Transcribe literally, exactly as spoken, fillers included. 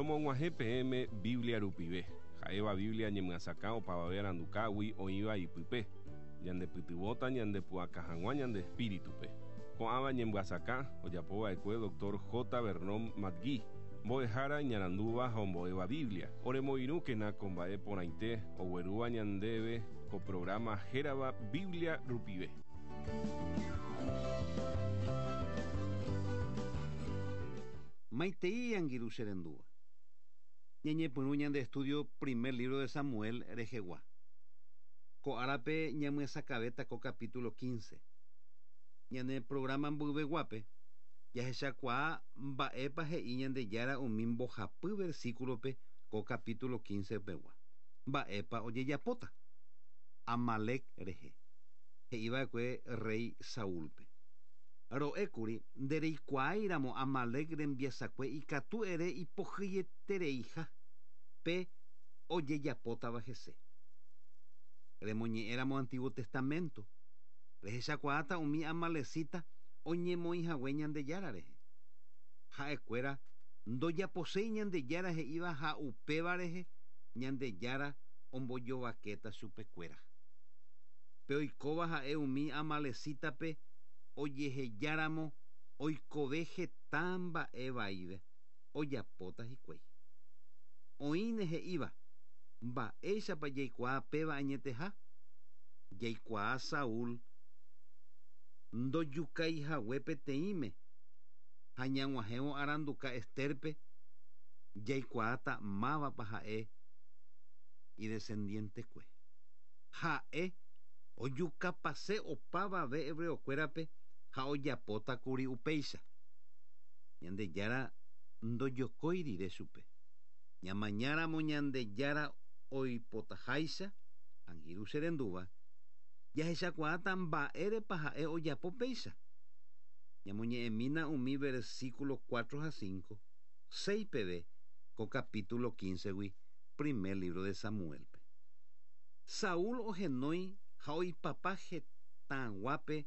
Romog̃uahẽ peẽme Biblia rupive. Ha'éva Biblia ñemyasakã opavave arandukágui oĩva ipype. Ñandepytyvõta ñandepu'aka hag̃ua ñande espíritupe. Ko'ãva ñemyasakã ojapova'ekue doctor J. Vernon McGee, mbo'ehára iñarandúva ha ombo'éva Biblia. Oremoirũkena ko mba'e porãite oguerúva ñandéve ko programa hérava Biblia rupive. Maitei angirũ che rendúva. Ñañepyrũ ñande estudio primer libro de Samuel rehegua. Ko árape ñamyasakãvéta ko capítulo quince. Ñane programa mboyveguápe jahechakuaa mba'épa he'i Ñandejára umi mbohapy versículope ko capítulo quince pegua. Mba'épa ojejapóta Amalek rehe. He'iva'ekue rey Saúlpe. Ro'ékuri ndereikuaáiramo Amalek rembiasakue ikatu ere ipohýietereiha pe ojejapótava hese. Remoñe'ẽramo Antiguo Testamento rehechakuaáta umi amalecita oñemoĩhague Ñandejára rehe. Ha'ekuéra ndojaposéi Ñandejára he'íva ha upéva rehe Ñandejára ombojovakéta chupekuéra. Pe oikóva ha'e umi amalecitape ojehejáramo oikove heta mba'e vaive ojapóta hikuái. Oĩne he'íva mba'éichapa jaikuaa péva añeteha? Jaikuaa Saúl ndojukaihague peteĩme ha ñag̃uahẽvo aranduka Esterpe jaikuaáta mávapa ha'e idescendientekue. Ha'e ojukapase opavave hebreokuérape ha ojapótakuri upéicha. Ñandejára ndojokói rire chupe. Ñamañáramo Ñandejára oipotaháicha, angirũ che rendúva, jahechakuaáta mba'érepa ha'e ojapo péicha. Ñamoñe'ẽmína umi versículo cuatro ha cinco, seis peve ko capítulo quince gui, primer libro de Samuelpe. Saúl ohenói ha oipapa hetãguápe